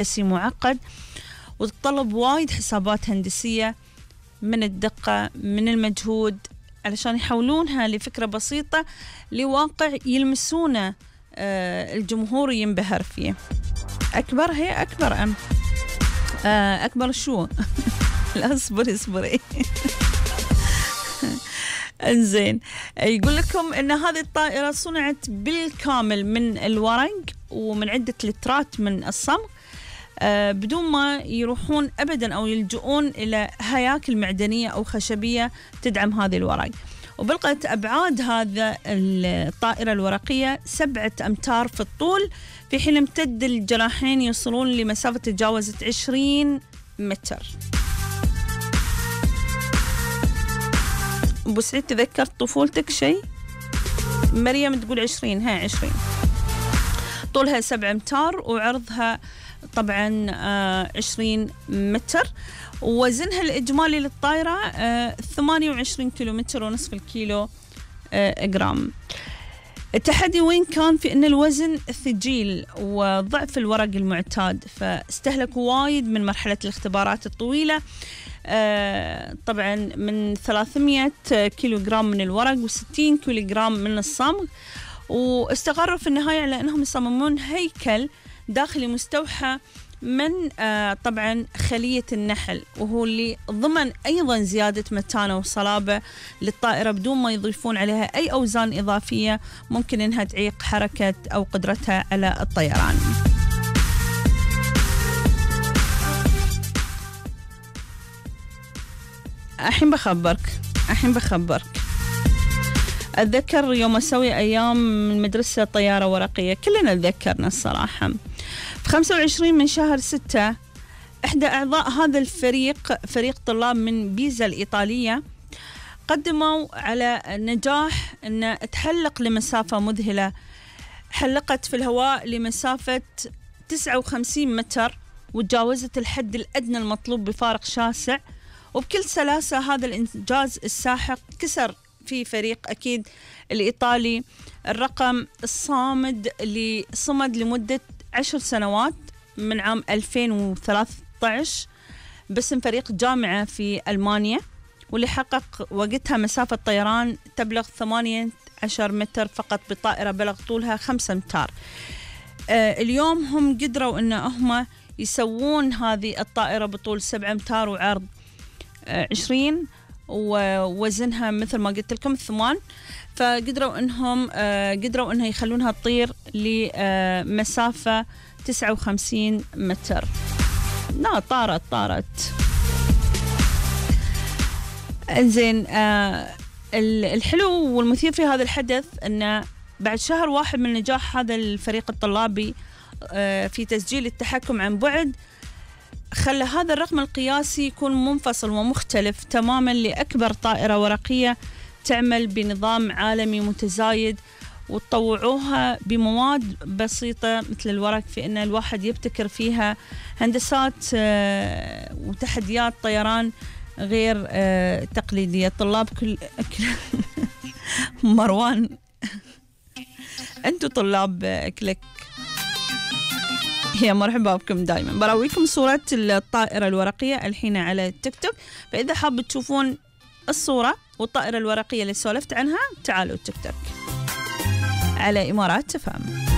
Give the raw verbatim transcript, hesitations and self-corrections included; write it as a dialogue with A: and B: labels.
A: هندسي معقد، وتتطلب وايد حسابات هندسية من الدقة من المجهود علشان يحولونها لفكرة بسيطة لواقع يلمسونه آه الجمهور ينبهر فيه. أكبر هي أكبر أم آه أكبر شو لا اصبري اصبري انزين، يقول لكم ان هذه الطائرة صنعت بالكامل من الورق ومن عدة لترات من الصمغ، آه بدون ما يروحون أبدا أو يلجؤون إلى هياكل معدنية أو خشبية تدعم هذه الورق. وبلغت أبعاد هذا الطائرة الورقية سبعة أمتار في الطول، في حين امتد الجناحين يوصلون لمسافة تجاوزت عشرين متر. أبو سعيد تذكرت طفولتك شيء؟ مريم تقول عشرين، ها عشرين. طولها سبعة أمتار وعرضها طبعا آه عشرين متر، ووزنها الإجمالي للطائرة آه ثمانية وعشرين كيلومتر ونصف الكيلو آه جرام. التحدي وين كان؟ في أن الوزن ثقيل وضعف الورق المعتاد، فاستهلكوا وايد من مرحلة الاختبارات الطويلة، آه طبعا من ثلاثمية كيلو جرام من الورق وستين كيلو جرام من الصمغ، واستقروا في النهاية على أنهم يصممون هيكل داخلي مستوحى من آه طبعا خلية النحل، وهو اللي ضمن أيضا زيادة متانة وصلابة للطائرة بدون ما يضيفون عليها أي أوزان إضافية ممكن أنها تعيق حركة أو قدرتها على الطيران. الحين بخبرك الحين بخبرك أتذكر يوم أسوي أيام من مدرسة طيارة ورقية، كلنا تذكرنا الصراحة. في خمسة وعشرين من شهر ستة إحدى أعضاء هذا الفريق، فريق طلاب من بيزا الإيطالية، قدموا على نجاح أن تحلق لمسافة مذهلة. حلقت في الهواء لمسافة تسعة وخمسين متر وتجاوزت الحد الأدنى المطلوب بفارق شاسع، وبكل سلاسة هذا الإنجاز الساحق كسر في فريق أكيد الإيطالي الرقم الصامد اللي صمد لمدة عشر سنوات من عام ألفين وثلاثة عشر باسم فريق جامعة في ألمانيا، واللي حقق وقتها مسافة طيران تبلغ ثمانية عشر متر فقط بطائرة بلغ طولها خمسة أمتار. آه اليوم هم قدروا أن هم يسوون هذه الطائرة بطول سبعة أمتار وعرض آه عشرين ووزنها مثل ما قلت لكم ثمان، فقدروا انهم آه قدروا انها يخلونها تطير لمسافة تسعة وخمسين متر. لا طارت طارت انزين. آه الحلو والمثير في هذا الحدث ان بعد شهر واحد من نجاح هذا الفريق الطلابي آه في تسجيل التحكم عن بعد، خلى هذا الرقم القياسي يكون منفصل ومختلف تماما لأكبر طائرة ورقية تعمل بنظام عالمي متزايد، وتطوعوها بمواد بسيطة مثل الورق في أن الواحد يبتكر فيها هندسات وتحديات طيران غير تقليدية. طلاب كل, كل مروان أنتوا طلاب كليك، هي مرحبا بكم دائما. براويكم صورة الطائرة الورقية الحين على تيك توك، فإذا حاب تشوفون الصورة والطائرة الورقية اللي سولفت عنها تعالوا تيك توك على إمارات تفهم.